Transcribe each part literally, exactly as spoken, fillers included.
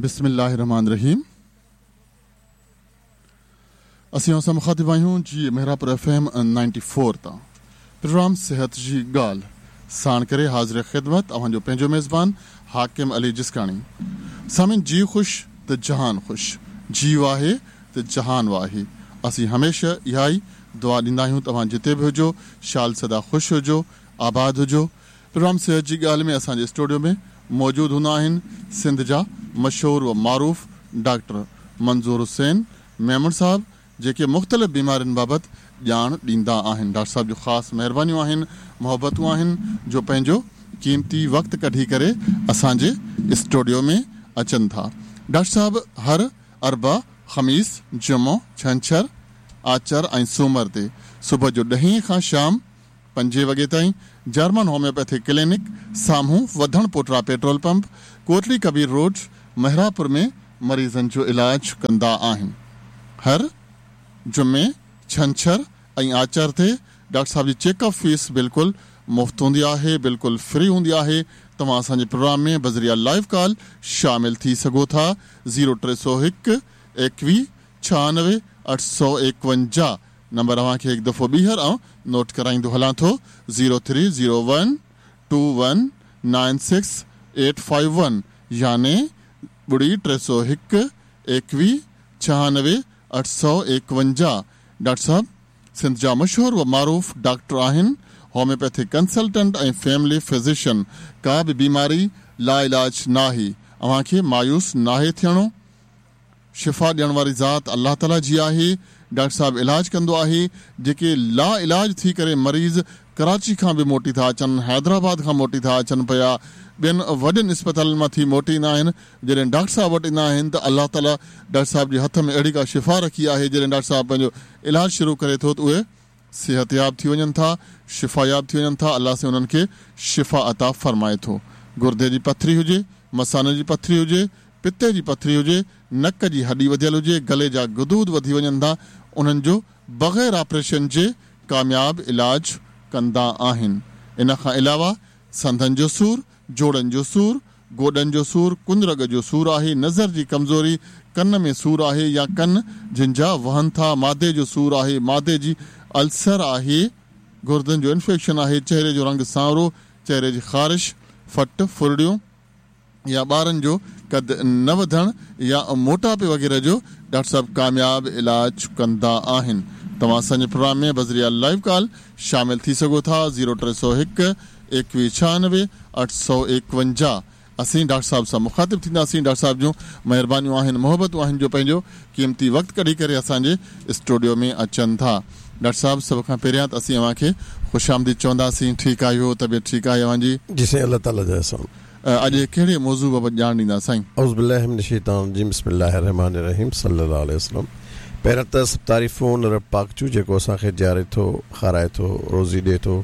बिस्मिल्लाहिर्रहमानिर्रहीम। असीं असां मुखातिब आहियूं जी Mehrabpur F M ninety four तां प्रोग्राम सेहत जी ॻाल्हि साण करे हाज़िर ख़िदमत अव्हांजो पंहिंजो मेज़बान हाकिम अली जिस्काणी। सामीन, जी ख़ुशि त जहान ख़ुशि, जीव आहे त जहान आहे। असीं हमेशह इहा ई दुआ ॾींदा आहियूं तव्हां जिते बि हुजो शाल सदा ख़ुशि हुजो, आबाद हुजो। प्रोग्राम सेहत जी ॻाल्हि में असांजे स्टूडियो में मौजूदु हूंदा आहिनि सिंध जा मशहूर व मारूफ़ डॉक्टर मंज़ूर हुसैन मेमण साहब, जेके मुख़्तलिफ़ बीमारियुनि बाबति ॼाण ॾींदा आहिनि। डॉक्टर साहब जूं ख़ासि महिरबानियूं आहिनि, मोहबतूं आहिनि जो पंहिंजो क़ीमती वक़्तु कढी करे असांजे स्टूडियो में अचनि था। डॉक्टर साहब हर अरबा, ख़मीस, जुमो, छंछर, आचर ऐं सूमर ते सुबुह जो ॾहें खां शाम पंजे वॻे ताईं जर्मन होम्योपैथी क्लिनिक साम्हूं Wadhan Pota petrol pump, Kotli Kabir road, Mehrapur में मरीज़नि जो इलाज कंदा आहिनि। हर जुमे, छंछर ऐं आचर ते डॉक्टर साहब जी चेकअप फीस बिल्कुलु मुफ़्त हूंदी आहे, बिल्कुलु फ्री हूंदी आहे। तव्हां असांजे प्रोग्राम में बज़रिया लाइव कॉल शामिल थी सघो था। ज़ीरो टे सौ हिकु एकवीह छहानवे अठ सौ एकवंजाह नंबर अव्हांखे हिकु दफ़ो ॿीहर आउं नोट कराईंदो हलां थो। Zero three zero one two one nine six eight five one, यानी ॿुड़ी टे सौ हिकु एकवीह छहानवे अठ सौ एकवंजाह। डॉक्टर साहब सिंध जा मशहूर व मारूफ़ डॉक्टर आहिनि, होम्योपैथिक कंसल्टेंट ऐं फैमिली फिजिशियन। का बि बीमारी लाइलाज नाहे, अव्हांखे मायूस नाहे थियणो। शिफ़ा ॾियण वारी ज़ात अलाह ताला जी आहे। डॉक्टर साहब इलाज कंदो आहे। जेके ला इलाज थी करे मरीज़ कराची खां बि मोटी था अचनि, हैदराबाद खां मोटी था अचनि पिया, ॿियनि वॾनि अस्पतालनि मां थी मोटी ईंदा आहिनि। जॾहिं डॉक्टर साहब वटि ईंदा आहिनि त अलाह ताला डॉक्टर साहब जे हथ में अहिड़ी का शिफ़ा रखी आहे, जॾहिं डॉक्टर साहब पंहिंजो इलाज शुरू करे थो त उहे सिहतयाब थी वञनि था, शिफ़ायाब थी वञनि था। अलाह से उन्हनि खे शिफ़ा अता फरमाए थो। गुर्दे जी पथरी हुजे, मसाने जी पथरी हुजे, पित्ते जी पथरी हुजे, नक जी हॾी वधियल हुजे, गले जा गदूद वधी वञनि था, उन्हनि जो बग़ैर ऑपरेशन जे कामयाब इलाज कंदा आहिनि। इन खां अलावा संधनि जो सूर, जोड़नि जो सूर, गोॾनि जो सूर, कुंदरग जो सूर आहे, नज़र जी कमज़ोरी, कन में सूर आहे या कन जिन जा वहनि था, मादे जो सूर आहे, मादे जी अल्सर आहे, गुर्दनि जो इन्फेक्शन आहे, चेहरे जो रंग सांवरो, चेहरे जी ख़ारिश, फट फुरड़ियूं या ॿारनि जो कद न वधणु या मोटापे वग़ैरह जो डॉक्टर साहब कामयाब इलाज कंदा आहिनि। तव्हां असांजे प्रोग्राम में बज़रिया लाइव कॉल शामिल थी सघो था। ज़ीरो टे सौ हिकु एकवीह छहानवे अठ सौ एकवंजाह। असीं डॉक्टर साहब सां मुखातिब थींदासीं। डॉक्टर साहब जूं महिरबानियूं आहिनि, मोहबतूं आहिनि जो पंहिंजो क़ीमती वक़्तु कढी करे असांजे स्टूडियो में अचनि था। डॉक्टर साहब, सभ खां पहिरियां त असीं अव्हांखे ख़ुशि आमदीद चवंदासीं। ठीकु आहियो? तबियत ठीकु आहे अव्हांजी? जी साईं, अलाह ताला जो एहसान। अॼु कहिड़े मौज़ू बाबति ॼाण ॾींदा साईं? औज़ु बिल्लाहि मिनश शैतानिर रजीम, बिस्मिल्लाहिर्रहमानिर्रहीम, सल्लल्लाहु अलैहि वसल्लम। पहिरियां त सभु तारीफ़ूं रब पाक जूं जेको असांखे जीआरे थो, खाराए थो, रोज़ी ॾिए थो,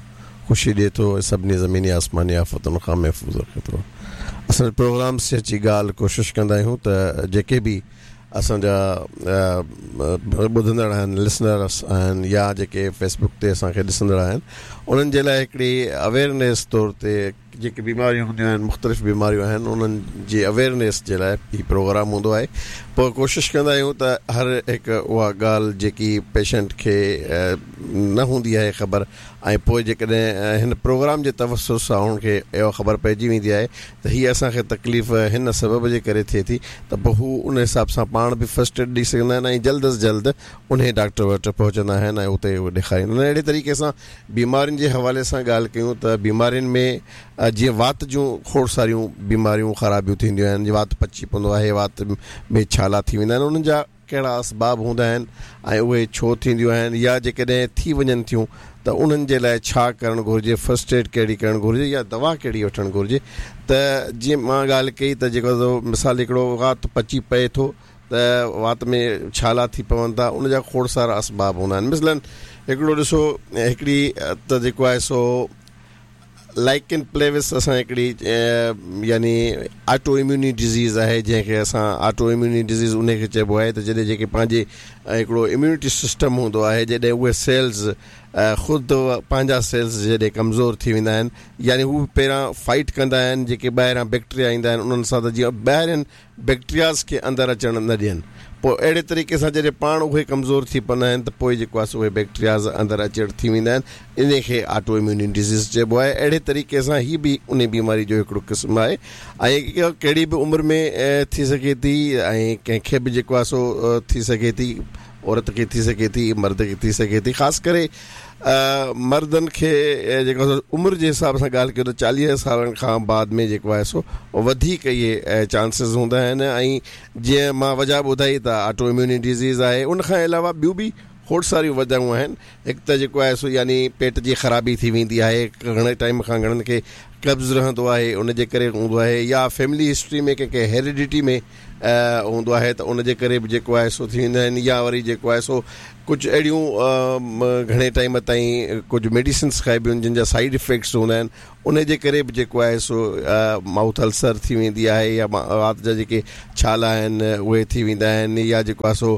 ख़ुशी ॾिए थो ऐं सभिनी ज़मीनी आसमानी आफ़तुनि खां महफ़ूज़ रखे थो। असां प्रोग्राम से अची ॻाल्हि कोशिशि कंदा आहियूं त जेके बि असांजा ॿुधंदड़ आहिनि, लिसनर्स आहिनि या जेके फेसबुक ते असांखे ॾिसंदड़ आहिनि, उन्हनि जे लाइ हिकिड़ी अवेयरनेस तौर ते जेके बीमारियूं हूंदियूं आहिनि, मुख़्तलिफ़ बीमारियूं आहिनि, उन्हनि जी अवेयरनेस जे लाइ हीउ प्रोग्राम हूंदो आहे। पोइ कोशिशि कंदा आहियूं त हर हिकु उहा ॻाल्हि जेकी पेशेंट खे न हूंदी आहे ख़बर, ऐं पोइ जेकॾहिं हिन प्रोग्राम जे तवसुत सां हुनखे इहा ख़बर पइजी वेंदी आहे त हीअ असांखे तकलीफ़ हिन सबब जे करे थिए थी, त पोइ हू उन हिसाब सां पाण बि फर्स्ट एड ॾेई सघंदा आहिनि ऐं जल्द अज़ जल्द उन डॉक्टर वटि पहुचंदा आहिनि ऐं उते उहे ॾेखारींदा आहिनि। अहिड़े तरीक़े सां बीमारियुनि जे हवाले सां ॻाल्हि कयूं त बीमारियुनि में जीअं वात जूं खोड़ सारियूं बीमारियूं ख़राबियूं थींदियूं आहिनि, वात पची पवंदो आहे, वात में छाला थी वेंदा आहिनि, उन्हनि जा कहिड़ा असबाब हूंदा आहिनि ऐं उहे छो थींदियूं आहिनि या जेकॾहिं थी वञनि थियूं त उन्हनि जे लाइ छा करणु घुरिजे, फर्स्ट एड कहिड़ी करणु घुरिजे या दवा कहिड़ी वठणु घुरिजे। त जीअं मां ॻाल्हि कई त जेको मिसाल हिकिड़ो वात पची पए थो त वात में छाला थी पवनि था, उनजा खोड़ सारा असबाब हूंदा आहिनि। मिसलन हिकिड़ो ॾिसो, हिकिड़ी त जेको आहे सो लाइकन प्लेविस असां हिकिड़ी यानी ऑटो इम्यूनी डिज़ीज़ आहे, जंहिंखे असां ऑटो इम्यूनी डिज़ीज़ उनखे चइबो आहे त जॾहिं जेके पंहिंजे हिकिड़ो इम्यूनिटी सिस्टम हूंदो आहे, जॾहिं उहे सेल्स ख़ुदि पंहिंजा सेल्स जॾहिं कमज़ोर थी वेंदा आहिनि, यानी हू पहिरियां फाइट कंदा आहिनि जेके ॿाहिरां बैक्टीरिया ईंदा आहिनि उन्हनि सां, त जीअं ॿाहिरियनि बैक्टीरियाज़ खे अंदरि अचणु न ॾियनि। पोइ अहिड़े तरीक़े सां जॾहिं पाण उहे कमज़ोर थी पवंदा आहिनि त पोइ जेको आहे सो उहे बैक्टीरियाज़ अंदरि अचण थी वेंदा आहिनि, इन खे ऑटो इम्यून डिज़ीज़ चइबो आहे। अहिड़े तरीक़े सां हीअ बि उन बीमारी जो हिकिड़ो क़िस्मु आहे ऐं कहिड़ी बि उमिरि में थी सघे थी ऐं कंहिंखे बि जेको आहे सो थी सघे थी, औरत खे थी सघे थी, मर्द खे थी सघे थी। ख़ासि करे मर्दनि खे जेको उमिरि जे हिसाब सां ॻाल्हि कयूं त चालीह सालनि खां बाद में जेको आहे सो वधीक इहे चांसिस हूंदा आहिनि। ऐं जीअं मां वजह ॿुधाई त ऑटो इम्यून डिज़ीज़ आहे, उन खां अलावा ॿियूं बि खोड़ सारियूं वजहूं आहिनि। हिकु त जेको आहे सो यानी पेट जी ख़राबी थी वेंदी आहे, घणे टाइम खां घणनि खे कब्ज़ रहंदो आहे उनजे करे हूंदो आहे, या फैमिली हिस्ट्री में कंहिंखे हेरिडिटी में हूंदो आहे त उनजे करे बि जेको आहे सो थी वेंदा आहिनि, या वरी जेको आहे सो कुझु अहिड़ियूं घणे टाइम ताईं कुझु मेडिसिन्स खाइबियूं आहिनि जिन जा साइड इफ़ेक्ट्स हूंदा आहिनि, उनजे करे बि जेको आहे सो माउथ अल्सर थी वेंदी आहे, या वात जा जेके छाला आहिनि उहे थी वेंदा आहिनि, या जेको आहे सो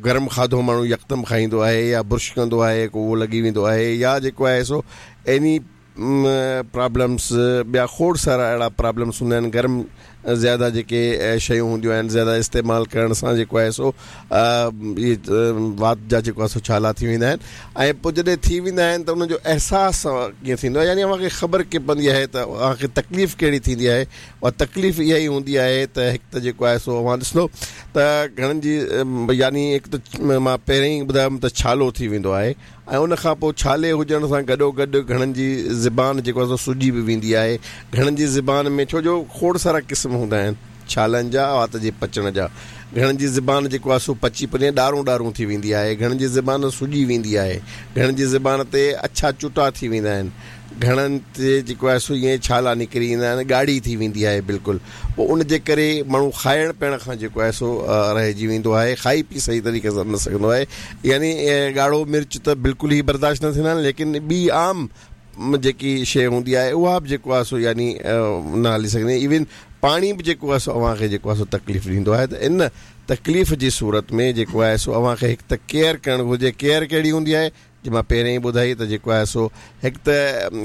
गरम खाधो माण्हू यकदमि खाईंदो आहे या ब्रश कंदो आहे को उहो लॻी वेंदो आहे, या जेको आहे सो एनी प्रॉब्लम्स ॿिया खोड़ सारा अहिड़ा प्रॉब्लम्स हूंदा आहिनि। गरम ज़्यादा जेके शयूं हूंदियूं आहिनि ज़्यादा इस्तेमालु करण सां जेको आहे सो इहे वात जा जेको आहे सो छाला थी वेंदा आहिनि। ऐं पोइ जॾहिं थी वेंदा आहिनि त उन्हनि जो अहसासु कीअं थींदो आहे, यानी अव्हांखे ख़बर कीअं पवंदी आहे त अव्हांखे तकलीफ़ कहिड़ी थींदी आहे। उहा तकलीफ़ इहा ई हूंदी आहे त हिकु त जेको आहे सो अव्हां ॾिसंदो त घणनि जी यानी हिकु त मां पहिरियों ई ॿुधायुमि त छालो थी वेंदो आहे, ऐं उन खां पोइ छाले हुजण सां गॾोगॾु घणनि जी ज़बान जेको आहे सो सुॼी बि वेंदी आहे। घणनि जी ज़बान में छो जो खोड़ सारा क़िस्म हूंदा आहिनि छालनि जा, वात जे पचण जा। घणनि जी ज़बान जेको आहे सो पची पने ॾारूं ॾारूं थी वेंदी आहे, घणनि जी ज़बान सुॼी वेंदी आहे, घणनि जी ज़बान ते अछा चुटा थी वेंदा आहिनि, घणनि ते जेको आहे सो ईअं छाला निकिरी ईंदा आहिनि, ॻाढ़ी थी वेंदी आहे बिल्कुलु। पोइ उनजे करे माण्हू खाइण पीअण खां जेको आहे सो रहिजी वेंदो आहे, खाई पी सही तरीक़े सां न सघंदो आहे। यानी ॻाढ़ो मिर्च त बिल्कुलु ई बर्दाश्त न थींदा आहिनि, लेकिन ॿी आम जेकी शइ हूंदी आहे उहा बि जेको आहे सो यानी न हली सघंदी। इवन पाणी बि जेको आहे सो अव्हांखे जेको आहे सो तकलीफ़ ॾींदो आहे। त इन तकलीफ़ जी सूरत में जेको आहे सो अव्हांखे हिकु त केयर करणु घुरिजे। केयर कहिड़ी हूंदी आहे जी मां पहिरियों ई ॿुधाई त जेको आहे सो हिकु त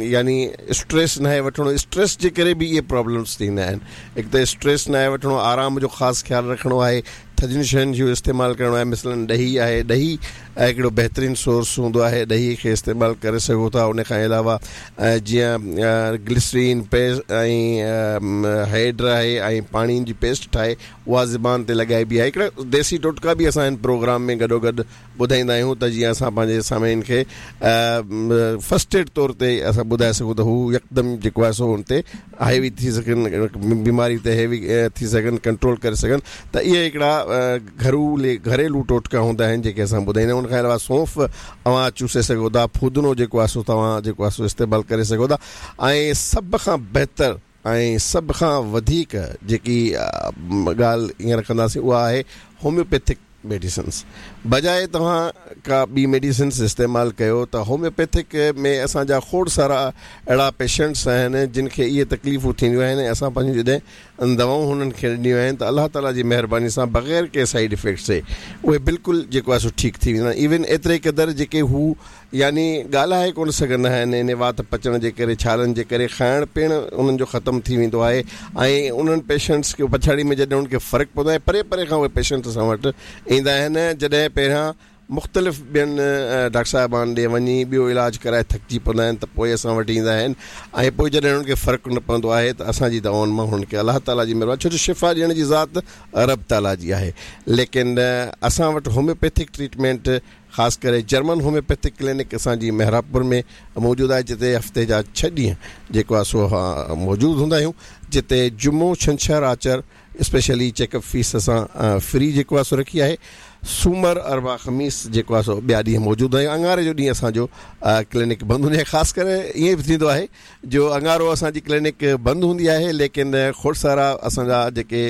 यानी स्ट्रेस न आहे वठिणो, स्ट्रेस जे करे बि इहे प्रॉब्लम्स थींदा आहिनि। हिकु त स्ट्रेस न आहे वठिणो, आराम जो ख़ासि ख़्यालु रखिणो आहे, थधियुनि शयुनि जो इस्तेमालु करिणो आहे। मिसलन ॾही आहे, ॾही हिकिड़ो बहितरीनु सोर्स हूंदो आहे, ॾही खे इस्तेमालु करे सघो था। उन खां अलावा जीअं ग्लिसरीन पेस्ट ऐं हेड आहे ऐं पाणी जी पेस्ट ठाहे उहा ज़बान ते लॻाइबी आहे। हिकिड़ा देसी टोटका बि असां हिन प्रोग्राम में गॾोगॾु ॿुधाईंदा आहियूं त जीअं असां पंहिंजे सामीन खे फर्स्ट एड तौर ते असां ॿुधाए सघूं त हू यकदमि जेको आहे सो हुन ते हावी थी सघनि, बीमारी ते हेवी थी सघनि, कंट्रोल करे सघनि। त इहे हिकिड़ा घरू घरेलू टोटका हूंदा आहिनि जेके असां ॿुधाईंदा आहियूं। उन खां अलावा सौंफ अव्हां चूसे सघो था, फुदनो जेको आहे सो तव्हां जेको आहे सो इस्तेमालु करे सघो था। ऐं सभ खां बहितर ऐं सभ खां वधीक जेकी ॻाल्हि हींअर कंदासीं उहा आहे होम्योपैथिक मेडिसिन्स। बजाए तव्हां का ॿी मेडिसिन्स इस्तेमालु कयो त होम्योपैथिक में असांजा खोड़ सारा अहिड़ा पेशेंट्स आहिनि जिन खे इहे तकलीफ़ूं थींदियूं आहिनि। असां पंहिंजूं जॾहिं दवाऊं हुननि खे ॾिनियूं आहिनि त अलाह ताला जी महिरबानी सां बग़ैर कंहिं साइड इफ़ेक्ट जे उहे बिल्कुलु जेको आहे सो ठीकु थी वेंदा आहिनि। इवन एतिरे क़दुरु जेके हू यानी ॻाल्हाए कोन सघंदा आहिनि, इन वात पचण जे करे, छालनि जे करे, खाइण पीअण उन्हनि जो ख़तमु थी वेंदो आहे। ऐं उन्हनि पेशेंट्स खे पछाड़ी में जॾहिं उन्हनि खे फ़र्क़ु पवंदो आहे, परे परे खां उहे पेशेंट असां वटि ईंदा आहिनि। जॾहिं पहिरियां मुख़्तलिफ़ ॿियनि डॉक्टर साहिबान ॾे वञी ॿियो इलाजु कराए थकिजी पवंदा आहिनि त पोइ असां वटि ईंदा आहिनि। ऐं पोइ जॾहिं हुननि खे फ़र्क़ु न पवंदो आहे त असांजी दवाउनि मां हुननि खे अलाह ताला जी महिरबानी, छो जो शिफ़ा ॾियण जी ज़ात रब ताला जी आहे। लेकिन असां वटि होम्योपैथिक ट्रीटमेंट ख़ासि करे जर्मन होम्योपैथिक क्लिनिक असांजी मेहराबपुर में मौजूदु आहे, जिते हफ़्ते जा छह ॾींहं जेको आहे सो मौजूदु हूंदा आहियूं, जिते जुमो, छंछर, आचर स्पेशली चेकअप फीस असां फ्री जेको आहे सो रखी आहे। सूमर, अरबा, ख़मीस जेको आहे सो ॿिया ॾींहं मौजूदु आहियूं। अंगारे जो ॾींहुं असांजो क्लिनिक बंदि हूंदी आहे। ख़ासि करे ईअं बि थींदो आहे जो अंगारो असांजी क्लिनिक बंदि हूंदी आहे, लेकिन खोड़ सारा असांजा जेके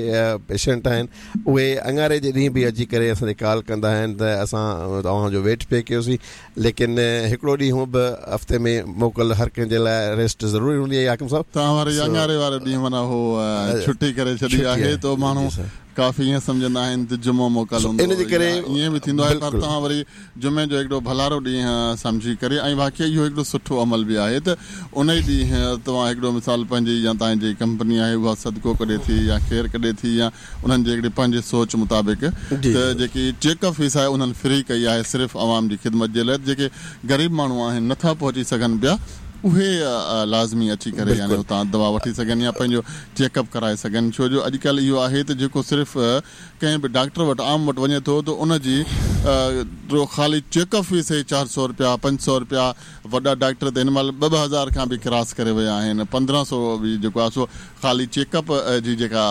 पेशेंट आहिनि उहे अंगारे जे ॾींहुं बि अची करे असांजे कॉल कंदा आहिनि त असां तव्हांजो वेट पे कयोसीं। लेकिन हिकिड़ो ॾींहुं बि हफ़्ते में मोकल हर कंहिंजे लाइ रेस्ट ज़रूरी हूंदी आहे। हाकिम साहिबु, तव्हां वरी अंगारे वारो ॾींहुं माना हो छुट्टी करे छॾी आहे त माण्हू काफ़ी ईअं सम्झंदा आहिनि त जुमो मोकल हूंदो, इन जे करे ईअं बि थींदो आहे। पर तव्हां वरी जुमे जो हिकिड़ो भलारो ॾींहुं सम्झी करे, ऐं वाकई इहो हिकिड़ो सुठो अमल बि आहे त उन ई ॾींहुं तव्हां हिकिड़ो मिसाल पंहिंजी या तव्हांजी कंपनी आहे उहा सदको कढे थी या खेर कढे थी या उन्हनि जे हिकिड़ी पंहिंजी सोच मुताबिक़ त जेकी चेकअप फीस आहे उन्हनि फ्री कई आहे सिर्फ़ु आवाम जी ख़िदमत जे लाइ। जेके ग़रीब माण्हू आहिनि नथा पहुची सघनि पिया उहे लाज़मी अची करे यानी उतां दवा वठी सघनि या पंहिंजो चेकअप कराए सघनि। छो जो अॼुकल्ह इहो आहे त जेको सिर्फ़ु कंहिं बि डॉक्टर वटि आम वटि वञे थो त उनजी ख़ाली चेकअप फीस ई चारि सौ रुपया पंज सौ रुपया, वॾा डॉक्टर त हिन महिल ॿ ॿ हज़ार खां बि क्रॉस करे विया आहिनि, पंद्रहं सौ बि जेको आहे सो ख़ाली चेकअप जी जेका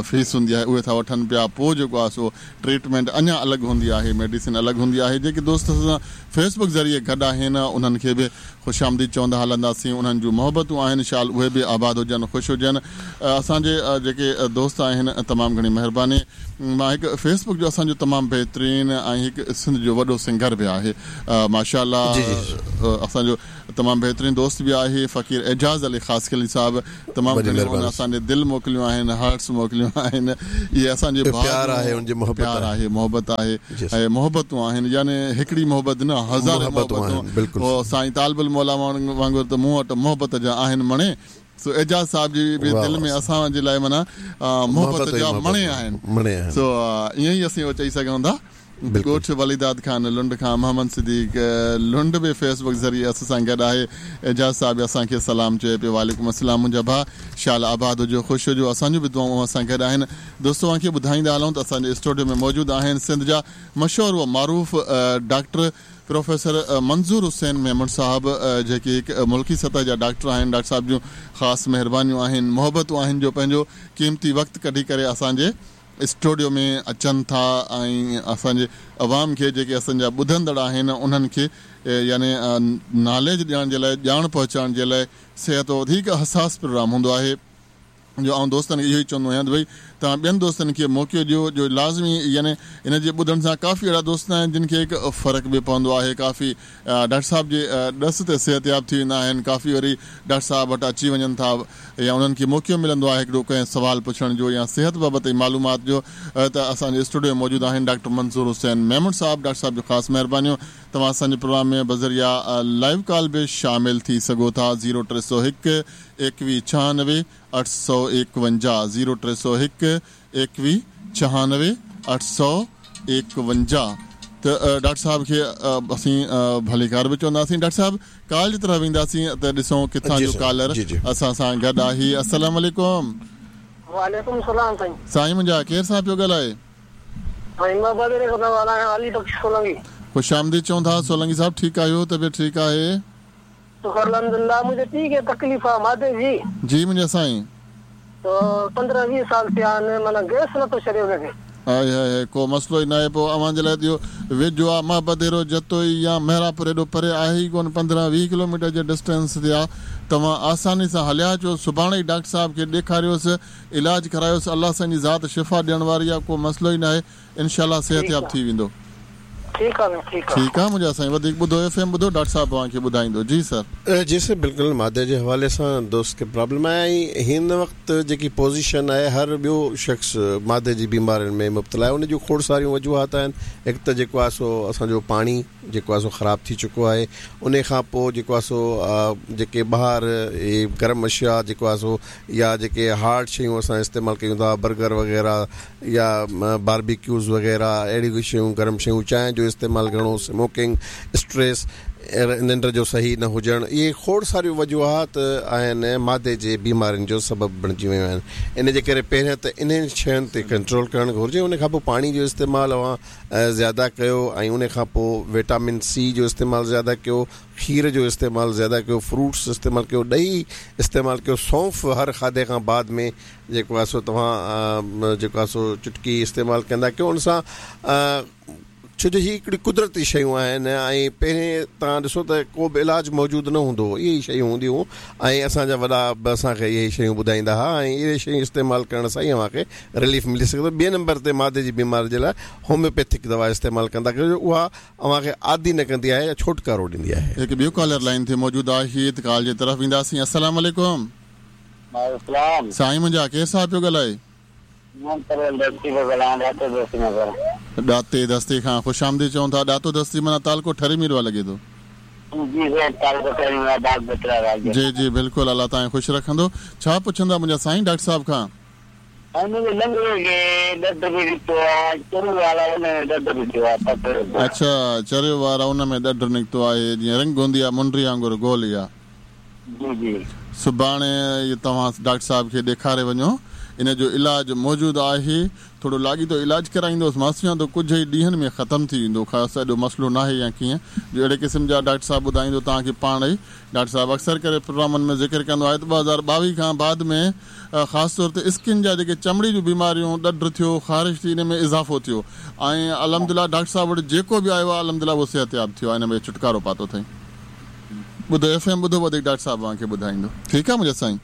फीस हूंदी आहे उहे था वठनि पिया। पोइ जेको आहे सो ट्रीटमेंट अञा अलॻि हूंदी आहे, मेडिसिन अलॻि हूंदी आहे। जेके दोस्त सां फेसबुक ज़रिए गॾु आहिनि उन्हनि खे बि ख़ुशि आमदीद चवंदा हलंदासीं। उन्हनि जूं मोहबतूं आहिनि, शाल उहे बि आबाद हुजनि, ख़ुशि हुजनि। असांजे जेके दोस्त आहिनि तमामु घणी महिरबानी। मां हिकु फेसबुक जो असांजो तमामु बहितरीन ऐं हिकु सिंध जो वॾो सिंगर बि आहे माशाअल्लाह, असांजो तमामु बहितरीन दोस्त बि आहे फ़क़ीर एजाज़ अली ख़ासखिली साहिबु। तमामु घणी हुन असांजे दिलि मोकिलियूं आहिनि, हार्ट्स मोकिलियूं आहिनि। इहे असांजे प्यार आहे, उनजी मोहबत प्यार आहे, मोहबत आहे ऐं मोहबतूं आहिनि, यानी हिकिड़ी मोहबत न हज़ार मोहबतूं। साईं तालबुल मौला वांगुरु त मूं वटि मोहबत जा आहिनि मणे। सो एजाज़ साहिब जी बि दिलि में असांजे लाइ माना मोहबत जा मणे आहिनि। सो ईअं ई असीं उहो चई सघूं था। ॻोठ वलीदाद खान लुंड खां मोहम्मद सिद्दीक लुंड बि फेसबुक ज़रिए असां सां गॾु आहे। एजाज़ साहिब असांखे सलाम चए पियो, वालेकुम अस्सलाम मुंहिंजा भाउ, शाल आबाद हुजो, ख़ुशि हुजो। असांजूं बि दुआऊं असां गॾु आहिनि। दोस्तो तव्हांखे ॿुधाईंदा हलूं त असांजे स्टूडियो में मौजूदु आहिनि सिंध जा मशहूर व मारूफ़ डॉक्टर प्रोफेसर मंज़ूर हुसैन मेमण साहब, जेके हिकु मुल्की सतह जा डॉक्टर आहिनि। डॉक्टर साहिब जूं ख़ासि महिरबानियूं आहिनि, मोहबतूं आहिनि जो पंहिंजो क़ीमती वक़्तु कढी करे असांजे स्टूडियो में अचनि था ऐं असांजे अवाम खे जेके असांजा ॿुधंदड़ आहिनि उन्हनि खे यानी नॉलेज ॾियण जे लाइ, ॼाण पहुचाइण जे लाइ सिहत वधीक हसास प्रोग्राम हूंदो आहे। जो आउं दोस्तनि खे इहो ई चवंदो आहियां त भई तव्हां ॿियनि दोस्तनि खे मौक़ो ॾियो जो लाज़मी यानी इन जे ॿुधण सां काफ़ी अहिड़ा दोस्त आहिनि जिन खे हिकु फ़र्क़ु बि पवंदो आहे। काफ़ी डॉक्टर साहिब जे ॾस ते सिहतयाब थी वेंदा आहिनि, काफ़ी वरी डॉक्टर साहिब वटि अची वञनि था या उन्हनि खे मौक़ो मिलंदो आहे हिकिड़ो कंहिं सवाल पुछण जो या सिहत बाबति मालूमात जो। त असांजे स्टूडियो में मौजूदु आहिनि डॉक्टर मंज़ूर हुसैन मेमण साहिब। डॉक्टर साहिब जो ख़ासि महिरबानियूं। तव्हां असांजे प्रोग्राम में बज़रिया लाइव कॉल बि शामिल थी सघो था। ज़ीरो टे सौ हिकु एकवीह छहानवे अठ सौ एकवंजाह, ज़ीरो टे सौ हिकु एकवीह छहानवे अठ सौ एकवंजाह। त डॉक्टर साहिब खे असीं भलीकार बि चवंदासीं। डॉक्टर साहिब कॉल जी तरफ़ वेंदासीं त ॾिसूं किथां जो कॉलर असां सां गॾु आहे। अस्सलाम वालेकुम। वालेकुम सलाम साईं। साईं मुंहिंजा, केरु सां पियो ॻाल्हाए? ख़ुशि आमदीद चऊं था सोलंगी साहिब। ठीकु आहियो? तबियत ठीकु आहे? अल्हम्दुलिल्लाह। मुंहिंजे पीउ खे तकलीफ़ आहे मादे जी। जी मुंहिंजा साईं। त पंद्रहं वीह साल थिया आहिनि, माना गैस नथो छॾे हुनखे। हाय हाय, को मसइलो ई न आहे। पोइ अव्हां जे लाइ त इहो वेझो आहे, महाबदेरो जतोई या मेहरापुर एॾो परे आहे ई कोन, पंद्रहं वीह किलोमीटर जे डिस्टेंस ते आहे। तव्हां आसानी सां हलिया अचो, सुभाणे ई डॉक्टर साहिब खे ॾेखारियोसि, इलाज करायोसि। अलाह साईं जी ज़ात शिफ़ा ॾियण वारी आहे, को मसइलो ई न आहे। इनशा सिहतयाब थी वेंदो। ठीकु आहे, ठीकु ठीकु आहे मुंहिंजा साईं। वधीक ॿुधो, एफ एम ॿुधो, डॉक्टर साहिब तव्हांखे ॿुधाईंदो। जी सर। जी सर बिल्कुलु। मादे जे हवाले सां दोस्त खे प्रॉब्लम आहे ऐं हिन वक़्तु जेकी पोज़ीशन आहे हर ॿियो शख़्स मादे जी बीमारियुनि में मुब्तला आहे। उन जूं खोड़ सारियूं वजूहात आहिनि। हिकु त जेको आहे सो असांजो पाणी जेको आहे सो ख़राबु थी चुको आहे। उन खां पोइ जेको आहे सो जेके ॿाहिरि गरम अशिया जेको आहे सो या जेके हार्ड शयूं असां इस्तेमालु कयूं था, बर्गर वग़ैरह या बारबेक्यूज़ वग़ैरह अहिड़ियूं शयूं, गरम शयूं, चांहि जो इस्तेमालु घणो, स्मोकिंग, स्ट्रेस, निंड जो सही न हुजणु, इहे खोड़ सारियूं वजूहात आहिनि मादे जे बीमारियुनि जो सबबु बणिजी वियूं आहिनि। इन जे करे पहिरियां त इन्हनि शयुनि ते कंट्रोल करणु घुरिजे। उन खां पोइ पाणी जो इस्तेमालु अव्हां ज़्यादा कयो ऐं उन खां पोइ विटामिन सी जो इस्तेमालु ज़्यादा कयो, खीर जो इस्तेमालु ज़्यादा कयो, फ्रूट्स इस्तेमालु कयो, ॾही इस्तेमालु कयो, सौंफ़ हर खाधे खां बाद में जेको आहे सो तव्हां जेको आहे सो चुटकी इस्तेमालु कंदा कयो। उन सां छो जो हीअ हिकिड़ी कुदरती शयूं आहिनि ऐं पहिरीं तव्हां ॾिसो त को बि इलाज मौजूदु न हूंदो हो, इहे ई शयूं हूंदियूं ऐं असांजा वॾा बि असांखे इहे शयूं ॿुधाईंदा हुआ ऐं इहे शयूं इस्तेमालु करण सां ई अव्हांखे रिलीफ मिली सघे थो। ॿिए नंबर ते मादे जी बीमारी जे लाइ होम्योपैथिक दवा इस्तेमालु कंदा कयो, उहा अव्हांखे आदी न कंदी आहे या छुटकारो ॾींदी आहे। हिकु ॿियो कॉलर लाइन ते मौजूदु आहे, त कॉल जे तरफ़ ईंदासीं। अस्सलाम वालेकुम। वालेकुम साईं मुंहिंजा, केरु साहिब पियो ॻाल्हाए? ॾाते दस्ती खां ख़ुशि आमदीद चऊं था। ॾातो दस्ती माना तालको ठरी मीरवा लॻे थो। जी जी बिल्कुलु, अलाह तव्हांखे ख़ुशि रखंदो। छा पुछंदा मुंहिंजा साईं डॉक्टर साहिब खां? अच्छा, चरियो वारा उन में ॾढ निकितो आहे, जीअं रंग हूंदी आहे मुंडी वांगुरु गोल इहा। सुभाणे तव्हां डॉक्टर साहिब खे ॾेखारे वञो, इन जो इलाज मौजूदु आहे। थोरो लाॻीतो इलाज कराईंदोसि, मां सम्झां थो कुझु ई ॾींहंनि में ख़तमु थी वेंदो। ख़ासि एॾो मसइलो न आहे या कीअं, जो अहिड़े क़िस्म जा डॉक्टर साहिबु ॿुधाईंदो तव्हांखे पाण ई। डॉक्टर साहिबु अक्सर करे प्रोग्रामनि में ज़िक्र कंदो आहे त ॿ हज़ार ॿावीह खां बाद में ख़ासि तौर ते स्किन जा जेके चमड़ी जूं बीमारियूं, ॾढ थियो, ख़ारिश थी, इन में इज़ाफ़ो थियो ऐं अल्हम्दुलिल्लाह डॉक्टर साहिबु वटि जेको बि आयो आहे अल्हम्दुलिल्लाह उहो सिहतयाब थियो आहे, इन में छुटकारो पातो अथई। ॿुधो एफ एम ॿुधो, वधीक डॉक्टर साहिबु तव्हांखे ॿुधाईंदो। ठीकु आहे मुंहिंजा साईं?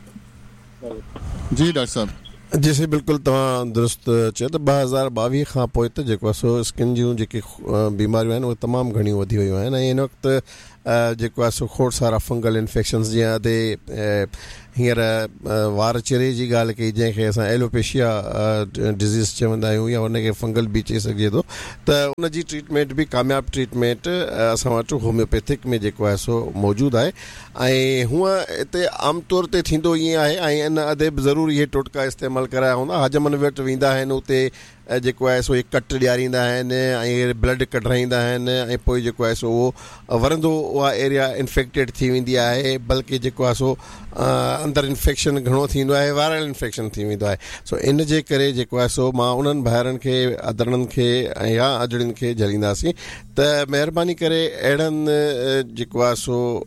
जी डॉक्टर साहिबु। जी साईं बिल्कुलु तव्हां दुरुस्त चयो त ॿ हज़ार ॿावीह खां पोइ त जेको आहे सो स्किन जूं जेके बीमारियूं आहिनि उहे तमामु घणियूं वधी वियूं आहिनि ऐं हिन वक़्तु जेको आहे सो खोड़ सारा फंगल इन्फेक्शन्स, जीअं अदे हींअर वार चिरे जी ॻाल्हि कई जंहिंखे असां एलोपेशिया डिज़ीज़ चवंदा आहियूं या हुनखे फंगल बि चई सघिजे थो, त उनजी ट्रीटमेंट बि कामयाबु ट्रीटमेंट असां वटि होम्योपैथिक में जेको आहे सो मौजूदु आहे। ऐं हूअं हिते आम तौर ते थींदो ईअं आहे ऐं इन अदे बि ज़रूरु इहे टोटका इस्तेमालु कराया हूंदा। हजमनि वटि वेंदा आहिनि, उते जेको आहे सो कट ॾियारींदा आहिनि ऐं ब्लड कढाईंदा आहिनि ऐं पोइ जेको आहे सो उहो वरंदो उहा एरिया इन्फेक्टेड थी वेंदी आहे, बल्कि जेको आहे सो अंदरि इन्फेक्शन घणो थींदो आहे, वायरल इन्फेक्शन थी वेंदो आहे। सो इन जे करे जेको आहे सो मां उन्हनि भाइरनि खे, अदड़नि खे ऐं या अजड़ियुनि खे झलींदासीं त महिरबानी करे अहिड़नि जेको आहे सो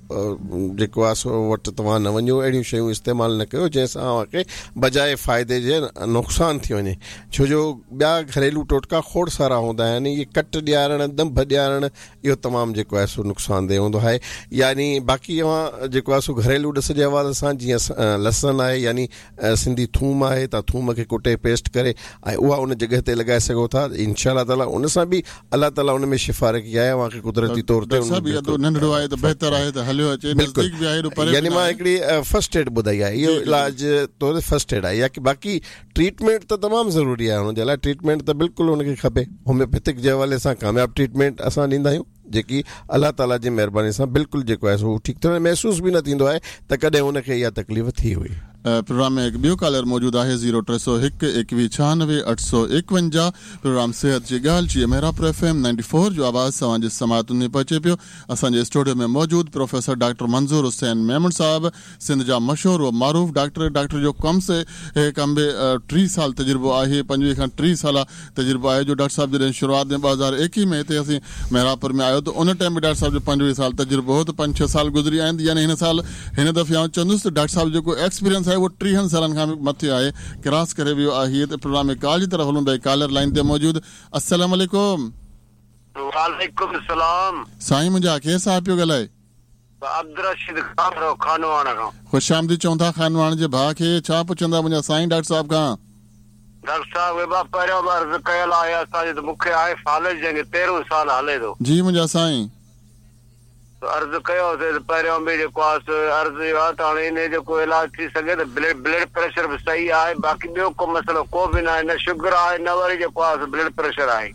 जेको आहे सो वटि तव्हां न वञो, अहिड़ियूं शयूं इस्तेमालु न कयो जंहिंसां तव्हांखे बजाए फ़ाइदे जे नुक़सानु थी वञे। छो जो ॿिया घरेलू टोटका खोड़ सारा हूंदा आहिनि, इहे कट ॾियारणु, दंभ ॾियारणु, इहो तमामु जेको आहे सो नुक़सानदेह हूंदो आहे। यानी बाक़ी तव्हां जेको आहे सो घरेलू ॾिस जे हवाले सां जीअं लसणु आहे यानी सिंधी थूम आहे, तव्हां थूम खे कुटे पेस्ट करे ऐं उहा उन जॻह ते लॻाए सघो था। इंशा ताला उन सां बि अलाह ताला उन में शिफ़ा रखी आहे तव्हांखे कुदरती तौर ते। नंढड़ो आहे त बहितर आहे त हलियो अचे, नज़दीक बि आहे। यानी मां हिकिड़ी फर्स्ट एड ॿुधाई आहे, इहो इलाज तौर फर्स्ट एड आहे, या बाक़ी ट्रीटमेंट त तमामु ज़रूरी आहे। हुनजे लाइ ट्रीटमेंट त बिल्कुलु हुनखे खपे। होम्योपैथिक जे हवाले सां कामयाबु ट्रीटमेंट असां ॾींदा आहियूं जेकी अलाह ताला जी महिरबानी सां बिल्कुलु जेको आहे सो ठीकु थियण, महसूसु बि न थींदो आहे त कॾहिं हुनखे इहा तकलीफ़ थी हुई। प्रोग्राम में एक ॿियो कॉलर मौजूदु आहे ज़ीरो टे सौ हिकु एकवीह छानवे अठ सौ एकवंजाह। प्रोग्राम सेहत जी ॻाल्हि जी Mehrapur F M ninety four जो आवाज़ तव्हांजे समातुनि में पहुचे पियो। असांजे स्टूडियो में मौजूदु प्रोफेसर डॉक्टर मंज़ूर हुसैन मेमण साहब, सिंध जा मशहूर व मारूफ़ डॉक्टर। डॉक्टर जो कम से कम बि टीह साल तजुर्बो आहे, पंजवीह खां टीह साल तजुर्बो आहे। जो डॉक्टर साहब जॾहिं शुरूआत में ॿ हज़ार एकवीह में हिते असीं मेहरापुर में आयो त उन टाइम बि डॉक्टर साहब जो पंजवीह साल तजुर्बो हो, त पंज छह साल गुज़री विया आहिनि। यानी हिन साल हिन दफ़े आउं चवंदुसि त डॉक्टर साहब जेको एक्सपीरियंस आहे उहो टीहनि सालनि खां मथे आहे, क्रॉस करे वियो आहे। त प्रोग्राम में कॉल जी तरफ़ हलूं भाई, कॉलर लाइन ते मौजूदु। अस्सलाम वालेकुम। वालेकुम सलाम। साईं मुंहिंजा, केरु साहिबु पियो ॻाल्हाए? अब्दुल रशीद खान खानवाण खां। ख़ुशि आमदीद चऊं था खानवाण जे भाउ खे। छा पुछंदा मुंहिंजा साईं डॉक्टर साहिब खां? डॉक्टर साहिब पहिरियों बि अर्ज़ु कयल आहे असांजे त मूंखे आहे फालिज जंहिंखे तेरहं साल हले थो। जी मुंहिंजा साईं, अर्ज़ु कयोसीं पहिरियों बि जेको आहे अर्ज़ु इहो आहे त हाणे इन जो को इलाज थी सघे त ब्लड ब्लड प्रेशर बि सही आहे, बाक़ी ॿियो को मसइलो को बि न आहे, न शुगर आहे न वरी जेको आहे ब्लड प्रेशर आहे।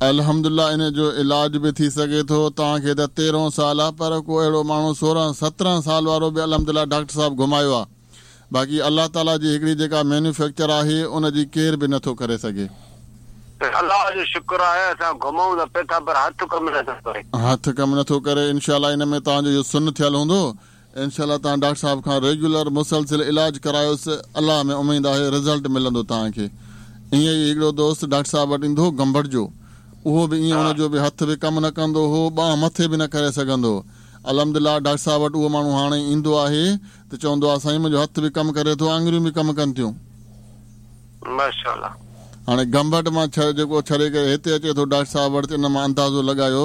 अल्हम्दुलिल्लाह इन जो इलाज बि थी सघे थो। तव्हांखे त तेरहं साल आहे, पर को अहिड़ो माण्हू सोरहं सत्रहं साल वारो बि अल्हम्दुलिल्लाह डॉक्टर साहिबु घुमायो आहे। बाक़ी अलाह ताला जी हिकिड़ी जेका मैन्युफैक्चर आहे उन जी केरु बि नथो करे सघे। अलाह जो शुक्र आहे असां घुमूं त पिया था, पर हथु कमु नथो करे। हथु कमु नथो करे। इंशाअल्लाह इन में तव्हांजो इहो सुन थियल हूंदो। इंशाअल्लाह तव्हां डॉक्टर साहिब खां रेगुलर मुसलसिल इलाज करायोसि, अलाह में उमेद आहे रिज़ल्ट मिलंदो तव्हांखे। ईअं ई हिकिड़ो दोस्त डॉक्टर साहिब वटि ईंदो हो गंबड़ जो, उहो बि ईअं हुनजो बि हथु बि कमु न कंदो हो, ॿांहुं मथे बि न करे सघंदो हो। अल्हम्दुलिल्लाह डॉक्टर साहिब वटि उहो माण्हू हाणे ईंदो आहे त चवंदो आहे साईं मुंहिंजो हथु बि कमु करे थो, आङुरियूं बि कमु कनि थियूं। माशाअल्लाह। हाणे गंबट मां जेको छड़े करे हिते अचे थो डॉक्टर साहिब वटि, त इन मां अंदाज़ो लॻायो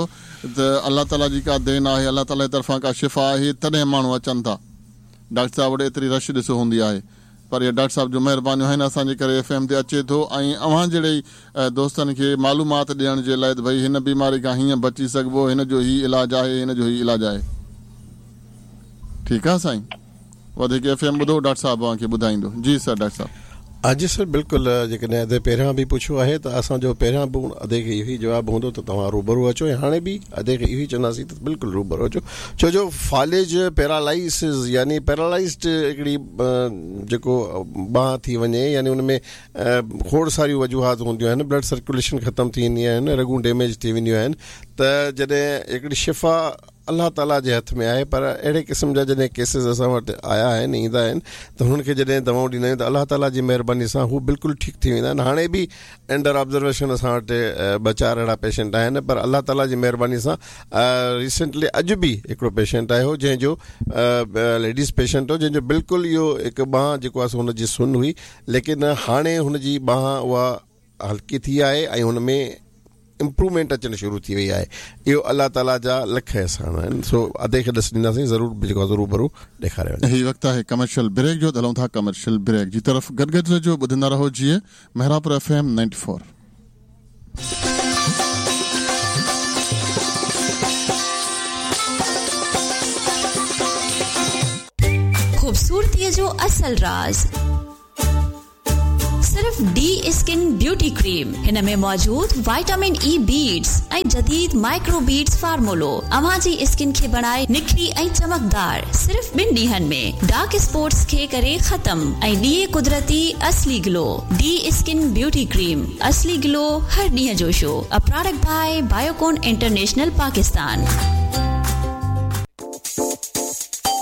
त अलाह ताला जी का then आहे, अलाह ताला जी तरफ़ां का शिफ़ा आहे, तॾहिं माण्हू अचनि था। डॉक्टर साहिब वटि एतिरी रश ॾिसो हूंदी आहे, पर इहा डॉक्टर साहिब जो महिरबानियूं आहिनि असांजे करे एफ एम ते अचे थो ऐं अव्हां जहिड़े ई दोस्तनि खे मालूमात ॾियण जे लाइ त भई हिन बीमारी खां हीअं बची सघिबो, हिन जो हीउ इलाज आहे, हिन जो हीउ इलाज आहे। ठीकु आहे साईं, वधीक एफ एम ॿुधो, डॉक्टर साहिब अव्हांखे ॿुधाईंदो। जी सर डॉक्टर साहिब। जी सर बिल्कुलु, जेकॾहिं अदे पहिरियां बि पुछियो आहे त असांजो पहिरियां बि अदे खे इहो ई जवाबु हूंदो त तव्हां रूबरू अचो, ऐं हाणे बि अदे खे इहो ई चवंदासीं त बिल्कुलु रूबरू अचो, छो जो फालिज पैरालाइसिस यानी पैरालाइज्ड हिकिड़ी जेको ॿांह थी वञे, यानी उन में खोड़ सारियूं वजूहात हूंदियूं आहिनि, ब्लड सर्कुलेशन ख़तमु थी वेंदी आहिनि, रगूं डैमेज थी वेंदियूं आहिनि, त जॾहिं हिकिड़ी शिफ़ा अलाह ताला जे हथ में आहे, पर अहिड़े क़िस्म जा जॾहिं केसिस असां वटि आया आहिनि, ईंदा आहिनि, त हुननि खे जॾहिं दवाऊं ॾींदा आहियूं त अलाह ताला जी महिरबानी सां हू बिल्कुलु ठीकु थी वेंदा आहिनि। हाणे बि अंडर ऑब्ज़र्वेशन असां वटि ॿ चारि अहिड़ा पेशेंट आहिनि, पर अलाह ताला जी महिरबानी सां रिसेंटली अॼु बि हिकिड़ो पेशेंट आयो जंहिंजो लेडीज़ पेशेंट हो, जंहिंजो बिल्कुलु इहो हिकु ॿांह जेको आहे हुनजी सुन हुई, लेकिन हाणे हुनजी ॿांह उहा हल्की थी आहे ऐं हुन में इम्प्रूवमेंट अचणु शुरू थी वई आहे। इहो अलाह ताला जा लख अहसान आहिनि। सो अदे खे ॾस ॾींदासीं ज़रूरु, जेको आहे रूबरू ॾेखारे वञे। ही वक़्तु आहे कमर्शियल ब्रेक जो, हलूं था कमर्शियल ब्रेक जी तरफ़। गॾु गॾु जो ॿुधंदा रहो जीअं Mehrapur F M ninety four. ख़ूबसूरतीअ जो असल राज़ सिर्फ़ डी स्किन ब्यूटी क्रीम। हिन में मौजूद विटामिन ई बीड्स ऐं जदीद माइक्रो बीड्स फार्मूलो अव्हां जी स्किन खे बणाए निखरी ऐं चमकदार सिर्फ़ ॿिनि ॾींहनि में। डार्क स्पॉट्स खे करे ख़त्म ऐं ॾिए कुदरती असली glow. D skin beauty cream, असली ग्लो हर ॾींहं जो show. A product by Biocon international Pakistan.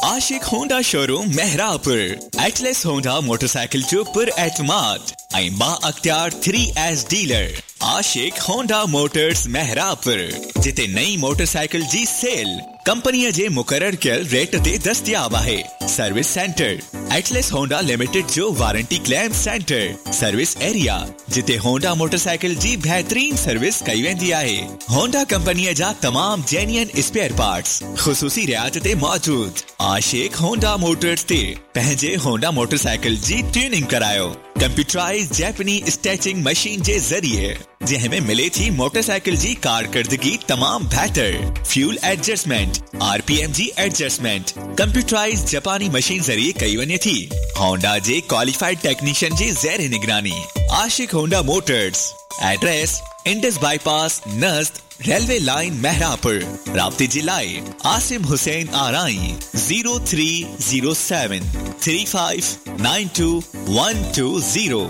Ashiq Honda showroom Mehrapur, Atlas Honda motorcycle जो पुर एतमाद ऐं बा अख्तियार three S dealer. Ashiq Honda motors Mehrapur, जिते नई मोटरसाइकिल जी सेल कंपनीअ जे मुक़ररु कयल रेट ते दस्तियाब आहे। Service centre Atlas Honda limited जो warranty claim centre, service area जिते होंडा मोटरसाइकिल जी बेहतरीन सर्विस कई वेंदी आहे। होंडा कंपनीअ जा तमाम जेन्युइन स्पेयर पार्ट्स ख़ुसूसी रियायत ते मौजूद। आशिक होंडा मोटर्स ते पंहिंजे होंडा मोटरसाइकिल जी ट्यूनिंग करायो कंप्यूटराइज जैपनी स्टैचिंग मशीन जे ज़रिए, जंहिं में मिले थी मोटरसाइकिल जी कारकर्दगी तमाम बेहतर। फ्यूल एडजस्टमेंट, आरपीएम जी एडजस्टमेंट कंप्यूटराइज जापानी मशीन ज़रिए कई वञे थी। होंडा जे क्वालिफाइड टेक्नीशियन जी ज़ेर निगरानी। Ashiq Honda motors, address Indus bypass Najd railway line Mehrapur. राब्ते जे लाइ Asim Hussain Arai zero three zero seven three five nine two one two zero.